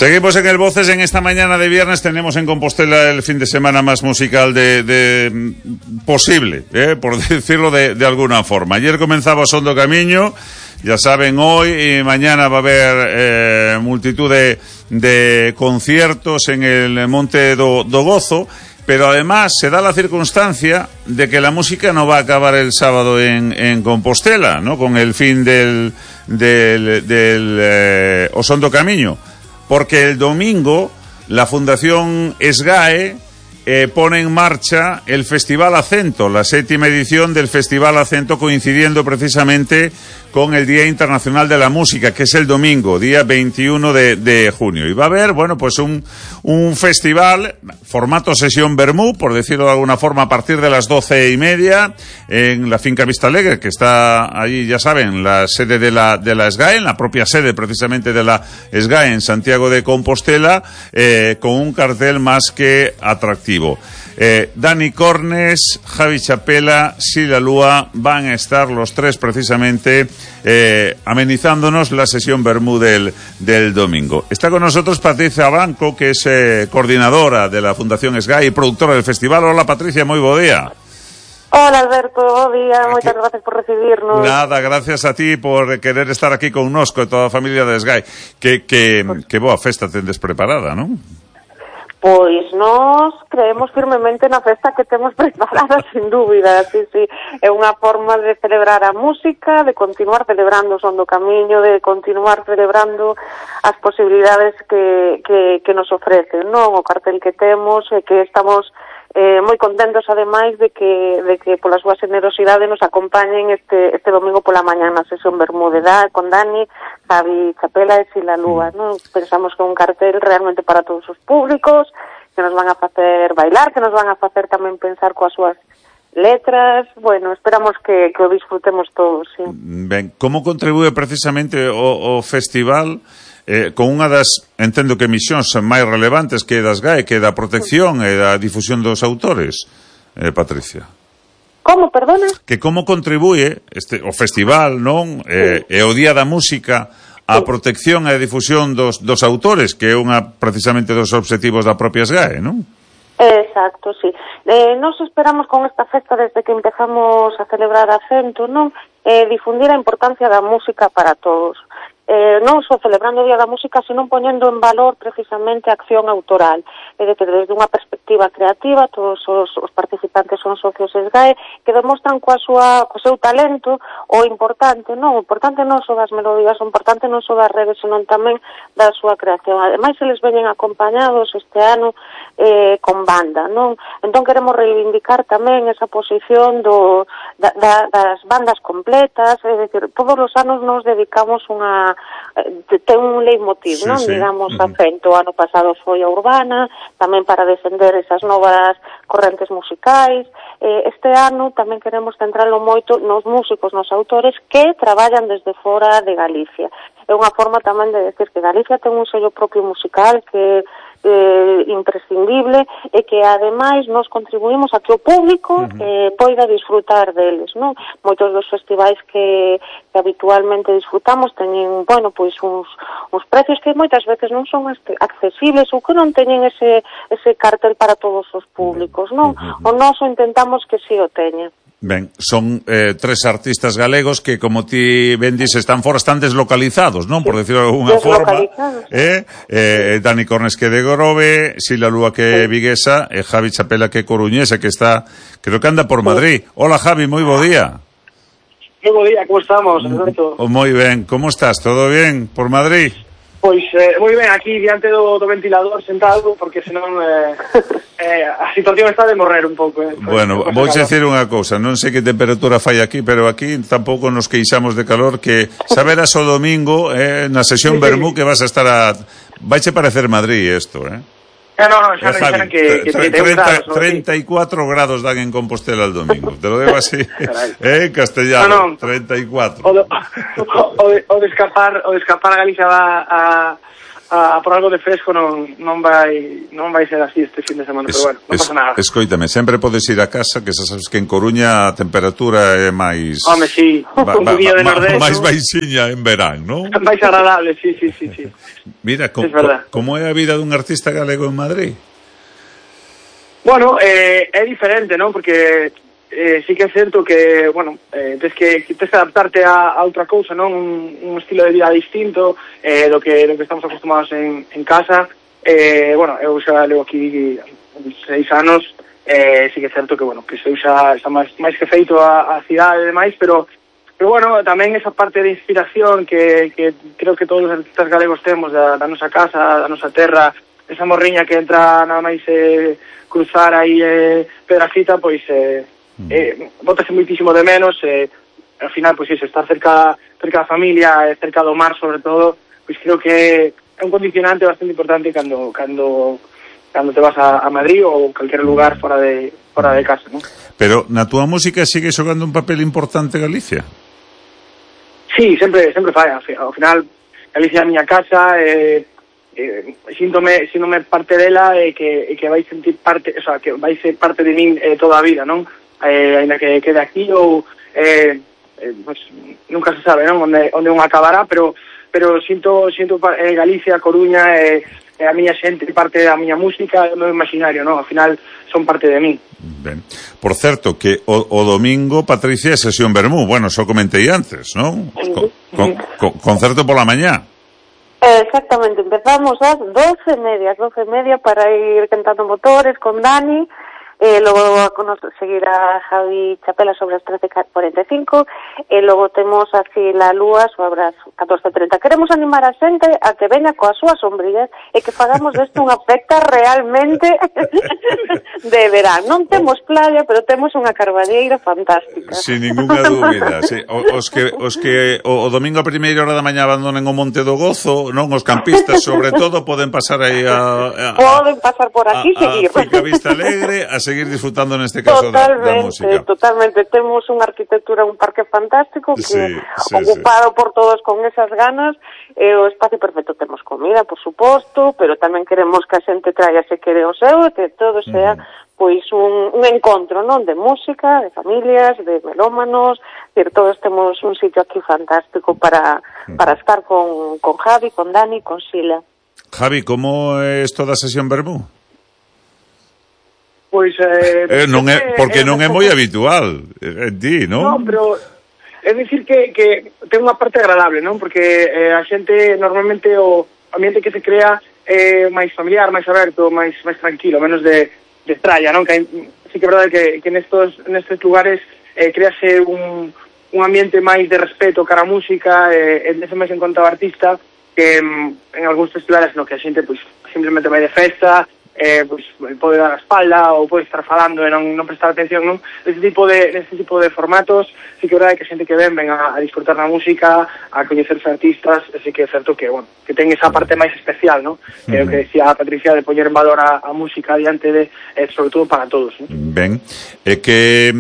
Seguimos en el Voces. En esta mañana de viernes tenemos en Compostela el fin de semana más musical de posible, por decirlo de alguna forma. Ayer comenzaba Son do Camiño, ya saben, hoy y mañana va a haber multitud de conciertos en el Monte do Gozo, pero además se da la circunstancia de que la música no va a acabar el sábado en Compostela, ¿no? Con el fin del O Son do Camiño. Porque el domingo la Fundación SGAE pone en marcha el Festival Acento, la 7ª edición del Festival Acento, coincidiendo precisamente con el Día Internacional de la Música, que es el domingo, día 21 de junio. Y va a haber, bueno, pues un festival, formato sesión Bermú, por decirlo de alguna forma, a partir de las 12:30, en la Finca Vista Alegre, que está allí, ya saben, la sede de la SGAE, en la propia sede precisamente de la SGAE en Santiago de Compostela, con un cartel más que atractivo. Dani Cornes, Javi Chapela, Sila Lúa van a estar los tres precisamente amenizándonos la sesión Bermú del domingo. Está con nosotros Patricia Blanco, que es coordinadora de la Fundación SGAE y productora del festival. Hola Patricia, moi bo día. Hola Alberto, bo día, moitas gracias por recibirnos. Nada, gracias a ti por querer estar aquí connosco e toda a familia de SGAE. Que boa festa tendes preparada, non? Pois nós creemos firmemente na festa que temos preparada, sin dúbida, sí. É unha forma de celebrar a música, de continuar celebrando o Son do Camiño, de continuar celebrando as posibilidades que nos ofrecen, non? O cartel que temos e que estamos moi contentos ademais de que pola súa generosidade nos acompañen este domingo pola mañá na sesión Bermúdez con Dani, Javi Chapela e Sila Lúa, non? Pensamos que é un cartel realmente para todos os públicos, que nos van a facer bailar, que nos van a facer tamén pensar coas súas letras. Bueno, esperamos que o disfrutemos todos, sí. Ben, como contribúe precisamente o festival con unha das, entendo que misións máis relevantes que das GAE, que é da protección e da difusión dos autores, Patricia? Como, perdona? Que como contribúe o festival, non? E o Día da Música a protección e a difusión dos autores, que é precisamente dos obxectivos da propia SGAE, non? Exacto, sí. Nos esperamos con esta festa desde que empezamos a celebrar Acento, non? Difundir a importancia da música para todos. Non só celebrando o Día da Música, sino poñendo en valor precisamente a acción autoral. É dicir, desde unha perspectiva creativa, todos os participantes son socios SGAE que demostran co seu talento o importante, non? O importante non só das melodías, o importante non só das redes, senón tamén da súa creación. Ademais, eles veñen acompañados este ano con banda, non? Entón queremos reivindicar tamén esa posición das bandas completas, é dicir, todos os anos nos dedicamos ten un leitmotiv, non? Sí. Digamos, Acento, o ano pasado foi a urbana, tamén para defender esas novas correntes musicais. Este ano tamén queremos centralo moito nos músicos, nos autores que traballan desde fora de Galicia. É unha forma tamén de decir que Galicia ten un sello propio musical que imprescindible e que ademais nos contribuímos a que o público poida disfrutar deles, non? Moitos dos festivais que habitualmente disfrutamos teñen, bueno, pois uns precios que moitas veces non son accesibles ou que non teñen ese cartel para todos os públicos, non? O noso intentamos que si o teña. Ben, son tres artistas galegos que, como ti ben dis, están deslocalizados, non? Por decirlo de alguna forma. Dani Cornes, que de Grove, Sila Lúa, que é viguesa, e Javi Chapela, que é coruñesa, que está, creo que anda por Madrid. Hola, Javi, moi bo día. Moi bo día, como estamos, Alberto? Moi ben, como estás? Todo bien por Madrid? Pois, moi ben, aquí diante do ventilador sentado, porque senón a situación está de morrer un pouco. Bueno, vou dicir unha cousa, non sei que temperatura fai aquí, pero aquí tampouco nos queixamos de calor, que saberás o domingo na sesión Bermú que vas a estar Vaiche parecer Madrid isto, No, xa me dixeron que 34 grados dan en Compostela el domingo. Te lo digo así, en castellano, 34. O de escapar a Galicia a por algo de fresco non vai ser así este fin de semana, pero bueno, non pasa nada. Escoítame, sempre podes ir a casa, que xa sabes que en Coruña a temperatura é máis... Home, sí, un poquillo de nordés, máis baixiña en verán, non? Máis agradable, sí. Mira, como é a vida dun artista galego en Madrid? Bueno, é diferente, non? Porque sí que é certo que, bueno, tens que adaptarte a outra cousa, non? Un estilo de vida distinto do que estamos acostumados en casa. Bueno, eu xa levo aquí 6 anos, sí que é certo que, bueno, que eu xa máis que feito a cidade e demais, pero bueno, tamén esa parte de inspiración que creo que todos os artistas galegos temos da nosa casa, da nosa terra, esa morriña que entra nada máis cruzar aí Pedrafita, pois bótase muitísimo de menos, ao final, pois iso, estar cerca da familia, cerca do mar, sobre todo, pois creo que é un condicionante bastante importante cando te vas a Madrid ou calquer lugar fora de casa, non? Pero na túa música sigue xogando un papel importante Galicia? Sí, sempre fai, ao final Galicia é a miña casa, síntome parte dela e que vai sentir parte, o sea, que vai ser parte de min toda a vida, non? Ainda que quede aquí ou pues, nunca se sabe, non? Onde un acabará, pero sinto Galicia, Coruña, a miña xente, parte da miña música, o meu imaginario, non? Ao final son parte de min. Ben. Por certo, que o domingo, Patricia, é sesión Vermú. Bueno, xo comentei antes, non? Concerto pola mañá. Exactamente, empezamos ás 12:30 para ir cantando motores con Dani. Logo a seguir a Javi Chapela sobre as 13:45 e logo temos así la lúa sobre as 14:30. Queremos animar a xente a que veña coas súas sombrillas e que fagamos desto unha festa realmente de verán. Non temos playa, pero temos unha carballeira fantástica. Sin ninguna dúbida, sí. Os que o domingo a primeira hora da mañá abandonen o Monte do Gozo, non, os campistas sobre todo poden pasar aí poden pasar por aquí e seguir. A Finca Vista Alegre, a seguir disfrutando neste caso da música. Totalmente, temos unha arquitectura, un parque fantástico que ocupado por todos con esas ganas, o espacio perfecto, temos comida, por suposto, pero tamén queremos que a xente traia se quere o seu e que todo sea pois un encontro, non, de música, de familias, de melómanos, todos temos un sitio aquí fantástico para estar con Javi, con Dani, con Sila. Javi, como é toda a sesión Vermú? Pois non é, porque non é moi habitual en ti, non? Non, pero é dicir que ten unha parte agradable, non? Porque a xente normalmente o ambiente que se crea é máis familiar, máis aberto, máis tranquilo, menos de tralla, non? Que sí que é verdade que nestes lugares crease un ambiente máis de respeto cara a música, ese máis en conta ao artista, que en algúns festivales no que a xente pois simplemente vai de festa, pois pode dar a espalda ou pode estar falando e non prestar atención, non? Neste tipo de formatos sí que é verdade que a xente que ven a disfrutar na música, a coñecerse artistas, así que é certo que, bueno, que ten esa parte máis especial, non? Que é o que decía a Patricia, de poñer en valor a música diante de, sobre todo para todos, non? Ben, e que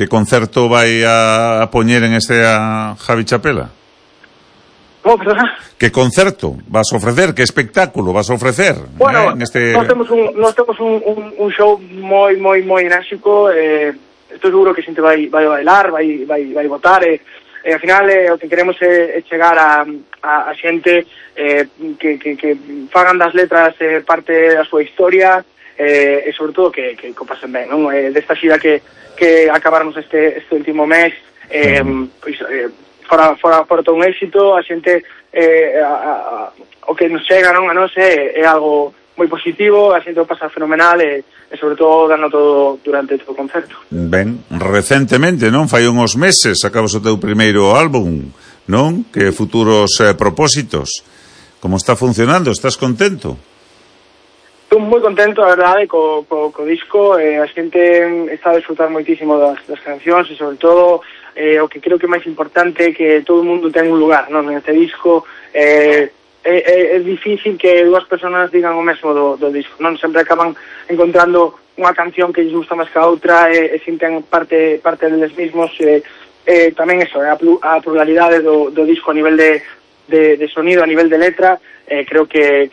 concerto vai a poñer en este a Javi Chapela? ¿Cómo, perdona? Que concerto vas a ofrecer? Que espectáculo vas a ofrecer? Bueno, nós temos un show moi enérxico, estou seguro que a xente vai bailar, vai votar, ao final o que queremos é chegar a xente que fagan das letras parte da súa historia, e sobre todo que o pasen ben, non? Desta xira que acabarnos este último mes, pois fora todo un éxito, a xente o que nos chega, non, a nós é algo moi positivo, a xente o pasa fenomenal e sobre todo dando todo durante todo o concerto. Ben, recentemente, non? Fai uns meses acabas o teu primeiro álbum, non? Que futuros propósitos. Como está funcionando? Estás contento? Estou moi contento, a verdade, co disco. A xente está a disfrutar moitísimo das cancións e sobre todo o que creo que é máis importante é que todo o mundo ten un lugar, non? Neste disco é difícil que dúas persoas digan o mesmo do disco, non? Sempre acaban encontrando unha canción que lles gusta máis que a outra e sinten parte deles mismos. Tamén eso, a pluralidade do disco a nivel de de sonido, a nivel de letra, creo que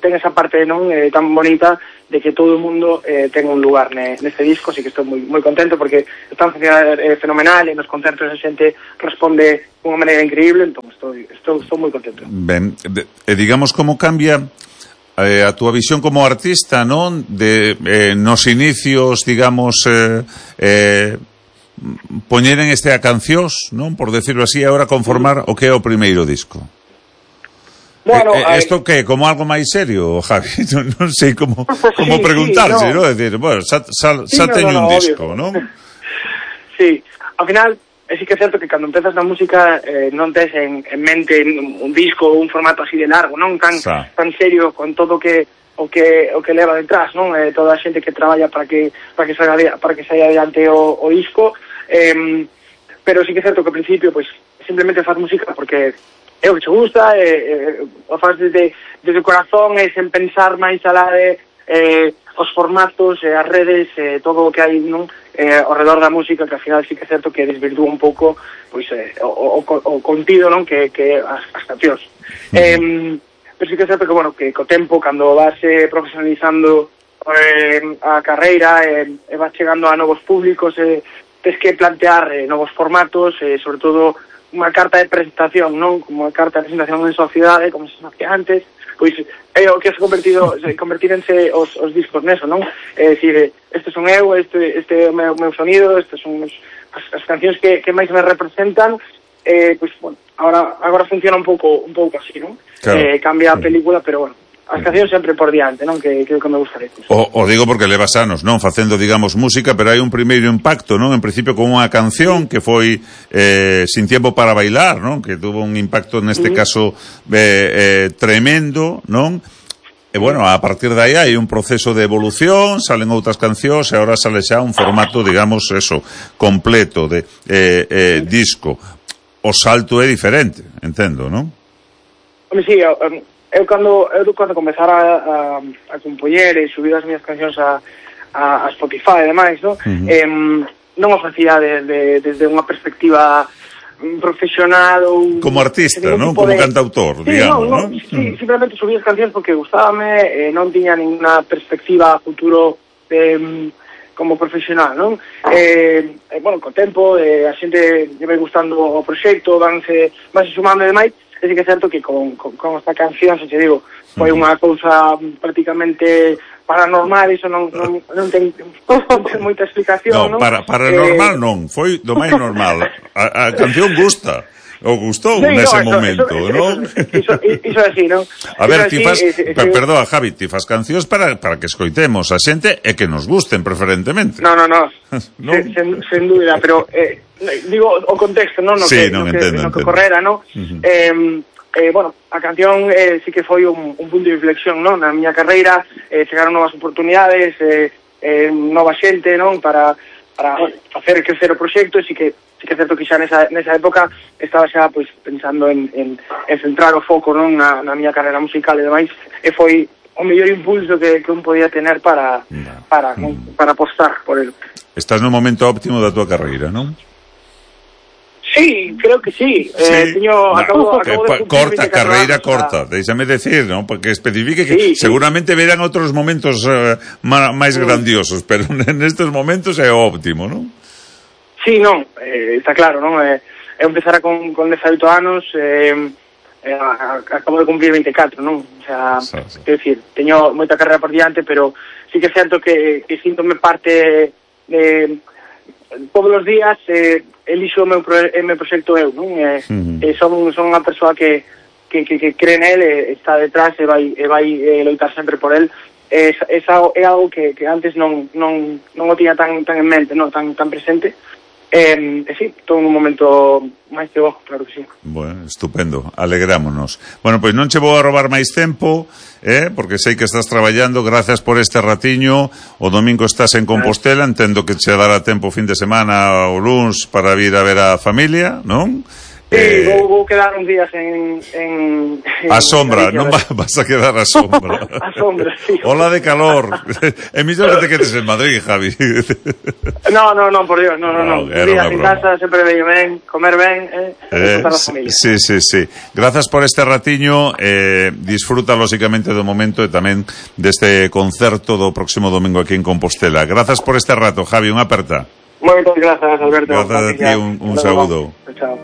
ten esa parte non tan bonita de que todo o mundo ten un lugar neste disco, así que estou moi contento porque están funcionando fenomenal e nos concertos a xente responde de unha maneira increíble, entón estou moi contento. Ben, digamos como cambia a túa visión como artista, non? Nos inicios, digamos, poñeren a cancións, non? Por decirlo así, agora conformar o que é o primeiro disco. Bueno, isto que como algo máis serio, Javi, non sei como preguntarse, non? Decir, bueno, xa teño un disco, non? Sí, ao final sí que é certo que cando empezas na música non tes en mente un disco ou un formato así de largo, non tan serio con todo o que leva detrás, non? Toda a xente que traballa para que saia adiante o disco, pero sí que é certo que ao principio pues simplemente faz música porque é o que te gusta, o faz desde o corazón e sen pensar máis alá de os formatos, as redes, todo o que hai non ao redor da música, que ao final sí que é certo que desvirtúa un pouco pois o contido non que as cancións. Pero sí que é certo que, bueno, que co tempo, cando vas profesionalizando a carreira e vas chegando a novos públicos, tens que plantear novos formatos, sobre todo unha carta de presentación, non? Como unha carta de presentación en sociedade, como se facía antes, pois é o que convertírense os discos neso, non? É dicir, este son eu, este é o meu sonido, estas son as cancións que máis me representan, pois, bueno, agora funciona un pouco así, non? Claro. Cambia a película, pero, bueno, as cancións sempre por diante, non? Que me gustaría. O digo porque levas anos, non? Facendo, digamos, música, pero hai un primeiro impacto, non? En principio con unha canción que foi Sin tiempo para bailar, non? Que tuvo un impacto neste caso tremendo, non? E, bueno, a partir de aí hai un proceso de evolución, salen outras cancións e agora sale xa un formato, digamos, completo de disco. O salto é diferente, entendo, non? Home, sí, eu cando comezara a compoñer e subir as miñas cancións a Spotify e demais, non? Non o facía desde unha perspectiva profesional ou como artista, non? Como cantautor, digamos, non? Sí, simplemente subí as cancións porque gustábame, non tiña ninguna perspectiva a futuro como profesional, non? Bueno, co tempo a xente lle vai gustando o proxecto, vanse sumando e demais. É que é certo que con esta canción, se te digo, foi unha cousa prácticamente paranormal, iso non ten moita explicación, non? Paranormal non, foi do máis normal. A canción gusta. O gustou nese momento, non? Iso é así, non? A ver, ti fas... Perdón, Javi, ti fas cancións para que escoitemos a xente e que nos gusten preferentemente. No. Sen dúbida, pero digo o contexto, non? No que correra, non? Bueno, a canción sí que foi un punto de inflexión, non? Na miña carreira chegaron novas oportunidades, nova xente, non? Para facer crecer o proxecto, e sí que é certo que xa nesa época estaba xa pois pensando en centrar o foco, non, na miña carreira musical e demais, e foi o mellor impulso que un podía tener para apostar por el. Estás no momento óptimo da tua carreira, non? Sí, creo que sí. Acabo de corta, carreira corta, déixame decir, non? Porque especifique que seguramente verán outros momentos máis grandiosos, pero nestes momentos é óptimo, non? Sí, non, está claro, non? Eu empezara con 18 anos, acabo de cumplir 24, non? O sea, quero dicir, teño moita carreira por diante, pero sí que é certo que síntome parte de todos os días elixo o meu proxecto eu, non? Son unha persoa que cree nel, está detrás e vai loitar sempre por el. É algo que antes non o tiña tan en mente, non tan presente. Sí, todo un momento máis que bo, claro que sí. Bueno, estupendo, alegrámonos. Bueno, pois non che vou a robar máis tempo, porque sei que estás traballando. Gracias por este ratiño. O domingo estás en Compostela, entendo que che dará tempo fin de semana o luns para vir a ver a familia, non? Sí, vou quedar uns días en a sombra, non vas a quedar a sombra. A sombra, sí. Ola de calor. É mellor que te quedes en Madrid, Javi. No, por Dios, no. Días en casa, sempre veño ben, comer ben, disfrutar a familia. Sí. Grazas por este ratiño, disfruta lóxicamente do momento e tamén deste concerto do próximo domingo aquí en Compostela. Grazas por este rato, Javi, unha aperta. Moitas grazas, Alberto. Grazas a ti, un saúdo. Chao.